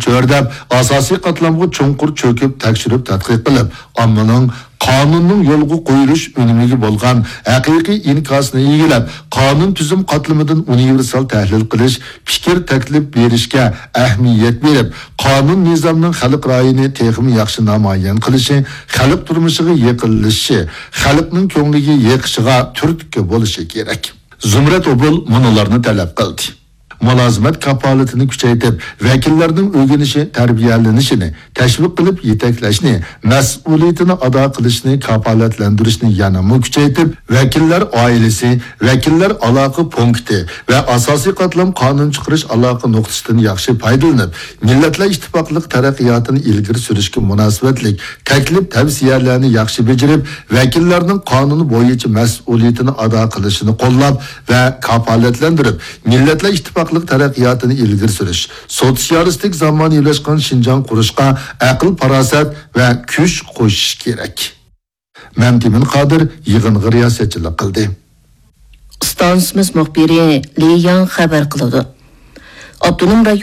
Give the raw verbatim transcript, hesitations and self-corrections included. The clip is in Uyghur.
چۆرىدەپ، ئاساسىي قاتلامغا چوڭقۇر چۆكۈپ، تەكشۈرۈپ تەتقىق قىلىپ، ئاممىنىڭ قانۇننىڭ يولغا قويۇلۇش ئۈنۈمىگە بولغان ھەقىقىي ئىنكاسىنى ئىگىلەپ، قانۇن تۈزۈم قاتلىمىدىن ئۇنىۋېرسال تەھلىل قىلىش، پىكىر تەكلىپ بېرىشكە ئەھمىيەت بېرىپ، قانۇن نىزامنىڭ خەلق رايىنى تېخىمۇ ياخشى نامايان قىلىشى، خەلق تۇرمۇشىغا يېقىنلىشىشى، خەلقنىڭ كۆڭلىگە يېقىشىغا تۈرتكە بولۇشى كېرەك. زۇمرەت ئوبۇل مۇنۇلارنى تەلەپ قىلدى. مۇلازىمەت كاپالىتىنى كۈچەيتىپ، ۋەكىللەرنىڭ ئۆگىنىشى، تەربىيەلىنىشىنى تەشۋىق قىلىپ يېتەكلەشنى، مەسئۇلىيىتىنى ئادا قىلىشنى كاپالەتلەندۈرۈشنى يەنىمۇ كۈچەيتىپ، ۋەكىللەر ئائىلىسى، ۋەكىللەر ئالاقە پونكىتى ۋە ئاساسىي قاتلام قانۇن چىقىرىش ئالاقە نۇقتىسىدىن ياخشى پايدىلىنىپ، مىللەتلەر ئىتتىپاقلىق تەرەققىياتىنى ئىلگىرى سۈرۈشكە مۇناسىۋەتلىك تەكلىپ تەۋسىيەلەرنى ياخشى بېجىرىپ، ۋەكىللەرنىڭ قانۇن بويىچە مەسئۇلىيىتىنى ئادا قىلىشىنى قوللاپ ۋە كاپالەتلەندۈرۈپ، مىللەتلەر ئىتتىپاقلىق تەرەققىياتىنى ئىلگىرى سۈرۈش، سوتسىيالىستىك زامانىۋىلاشقان شىنجاڭ قۇرۇشقا ئەقىل-پاراسەت ۋە كۈچ قوشۇش كېرەك. مەمتىمىن قادىر يىغىنغا رىياسەتچىلىك قىلدى. ئىستانسىمىز مۇخبىرى لى ياڭ خەۋەر قىلىدۇ. ئاپتونوم رايون